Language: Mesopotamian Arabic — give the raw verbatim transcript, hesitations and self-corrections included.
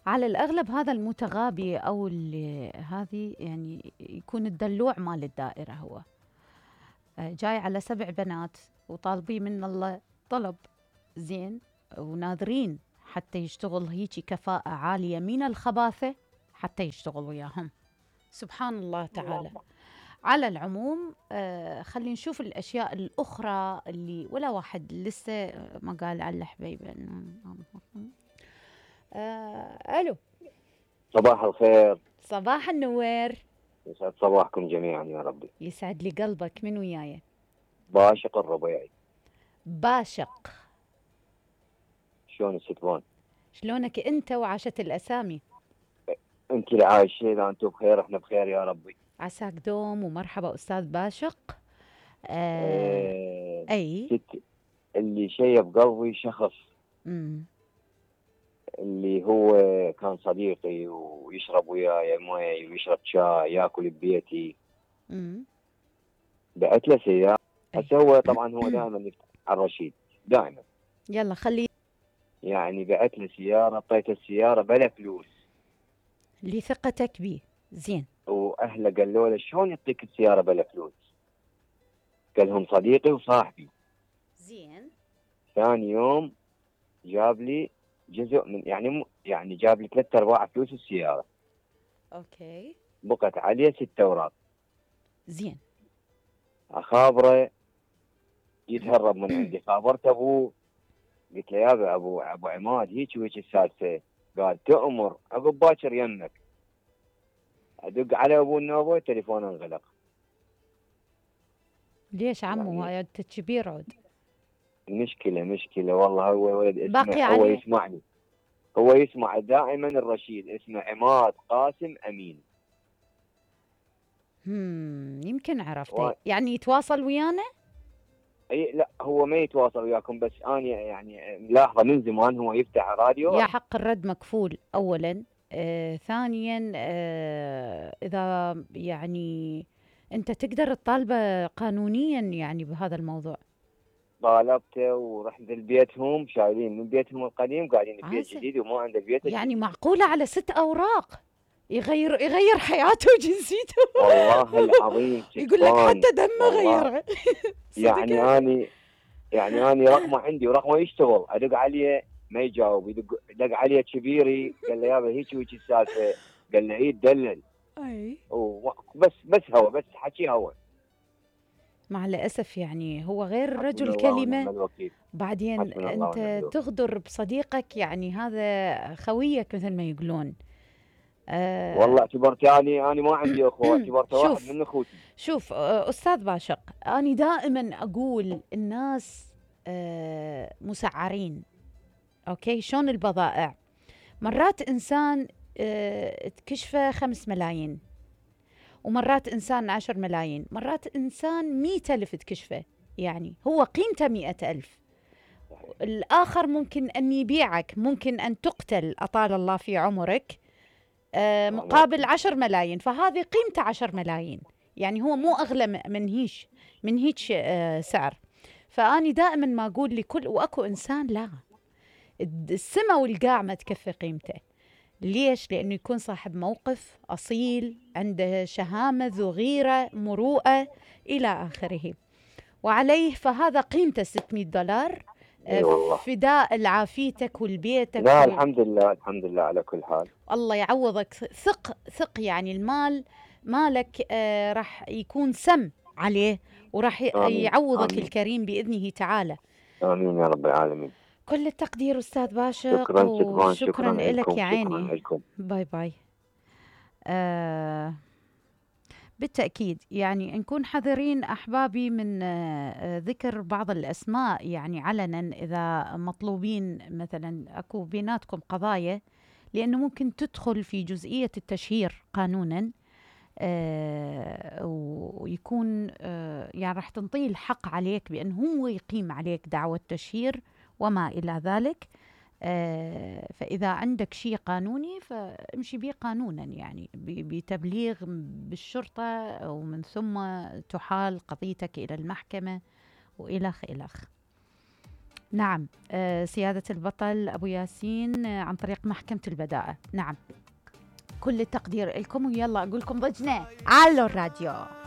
على الأغلب هذا المتغابي أو اللي هذه يعني يكون الدلوع مال الدائرة هو. آه، جاي على سبع بنات وطالبين من الله طلب زين، وناظرين حتى يشتغل هيجي كفاءة عالية من الخباثة حتى يشتغل وياهم. سبحان الله تعالى. على العموم آه خلينا نشوف الأشياء الأخرى اللي ولا واحد لسه ما قال على الحبيبة. آه ألو. صباح الخير. صباح النوير. يسعد صباحكم جميعا يا ربي. يسعد لي قلبك. من وياي؟ باشق الربيعي. باشق، شلون الستبان؟ شلونك أنت وعاشت الأسامي؟ أنت اللي عايشين، إذا أنتم بخير إحنا بخير يا ربي. عساك دوم ومرحبا أستاذ باشق. آه آه أي ست اللي شيب قلبي شخص مم. اللي هو كان صديقي ويشرب وياي مويه ويشرب شاي ياكل ببيتي. مم. بعت له سيارة. أي. هسه هو طبعا هو دائما يفتح على الرشيد دائما، يلا خلي يعني بعت له سيارة، اعطيته السيارة بلا فلوس لثقتك بيه. زين. واهله قالوا له شلون يعطيك السيارة بلا فلوس؟ قال لهم صديقي وصاحبي. زين. ثاني يوم جاب لي جزء من يعني م... يعني جاب لي ثلاثة ارباع فلوس السيارة. اوكي. بقت عليه ست اوراق. زين. اخابره يتهرب من عندي، خابرت ابوه قلت له يا ابو ابو عماد هيك وهيك السالفه. قال تؤمر عقب باكر يمك. ادق على ابو النوبه تليفونه انغلق. ليش عمو يعني هاي كبير عود؟ مشكله مشكله والله. هو ولد باقي اسمه هو عليه. يسمعني، هو يسمع دائما الرشيد، اسمه عماد قاسم امين. هم يمكن عرفته. و... يعني يتواصل ويانا؟ اي لا هو ما يتواصل وياكم، بس انا يعني ملاحظه من زمان هو يفتح راديو. يا حق الرد مكفول اولا. آه، ثانيا آه، اذا يعني انت تقدر تطالبه قانونيا يعني بهذا الموضوع. طالبته ورحت لبيتهم، شايلين من بيتهم القديم قاعدين ببيت عسى. جديد وما عنده بيت يعني الجديد. معقولة على ست اوراق يغير يغير حياته وجنسيته؟ والله العظيم يقول لك سكبان. حتى دمه والله غيره. صدق يعني هذا؟ اني يعني اني رقمه عندي ورقمه يشتغل، ادق عليه ما يجاوب، يدق دق عليه كبيري قال له يابا هيك وهيك السالفه. قال له اي تدلل. اي. بس بس هو بس حكي هو. مع الأسف يعني هو غير حسبنا الرجل الله ونعم كلمة. الوكيل. بعدين حسبنا الله ونعم أنت الوكيل. تغدر بصديقك، يعني هذا خويك مثل ما يقولون. آه والله اعتبرتني انا ما عندي اخوه، اعتبرته واحد شوف من اخوتي. شوف آه أستاذ باشق، أنا دائما أقول الناس آه مسعرين. أوكي، شلون البضائع؟ مرات إنسان آه تكشفه خمس ملايين، ومرات إنسان عشر ملايين، مرات إنسان مئة ألف تكشفه، يعني هو قيمته مئة ألف. الآخر ممكن أن يبيعك، ممكن أن تقتل أطال الله في عمرك آه مقابل عشر ملايين، فهذه قيمته عشر ملايين، يعني هو مو أغلى من هيش من هيك آه سعر. فأني دائما ما أقول لكل وأكو إنسان لا، السما والقاع ما تكفي قيمته. ليش؟ لأنه يكون صاحب موقف أصيل، عنده شهامة ذو غيرة مروءة إلى آخره، وعليه فهذا قيمته ستمئة دولار. اي والله. فداء لعافيتك والبيتك. لا الحمد لله الحمد لله على كل حال. الله يعوضك. ثق ثق يعني المال مالك آه راح يكون سم عليه، وراح يعوضك آمين. الكريم بإذنه تعالى. آمين يا رب العالمين. كل التقدير أستاذ باشق. شكرا شكرا شكرا لك يا عيني. شكرا لكم. باي باي. آه بالتأكيد يعني نكون حذرين أحبابي من آه ذكر بعض الأسماء يعني علنا إذا مطلوبين مثلا أكو بيناتكم قضايا، لأنه ممكن تدخل في جزئية التشهير قانونا. آه ويكون آه يعني راح تنطيه الحق عليك بأنه هو يقيم عليك دعوة تشهير وما إلى ذلك. آه فإذا عندك شيء قانوني فامشي به قانونا، يعني بتبليغ بالشرطة، ومن ثم تحال قضيتك إلى المحكمة وإلخ إلخ. نعم. آه سيادة البطل أبو ياسين آه عن طريق محكمة البدائع. نعم، كل التقدير لكم، ويلا أقول لكم ضجنا على الراديو.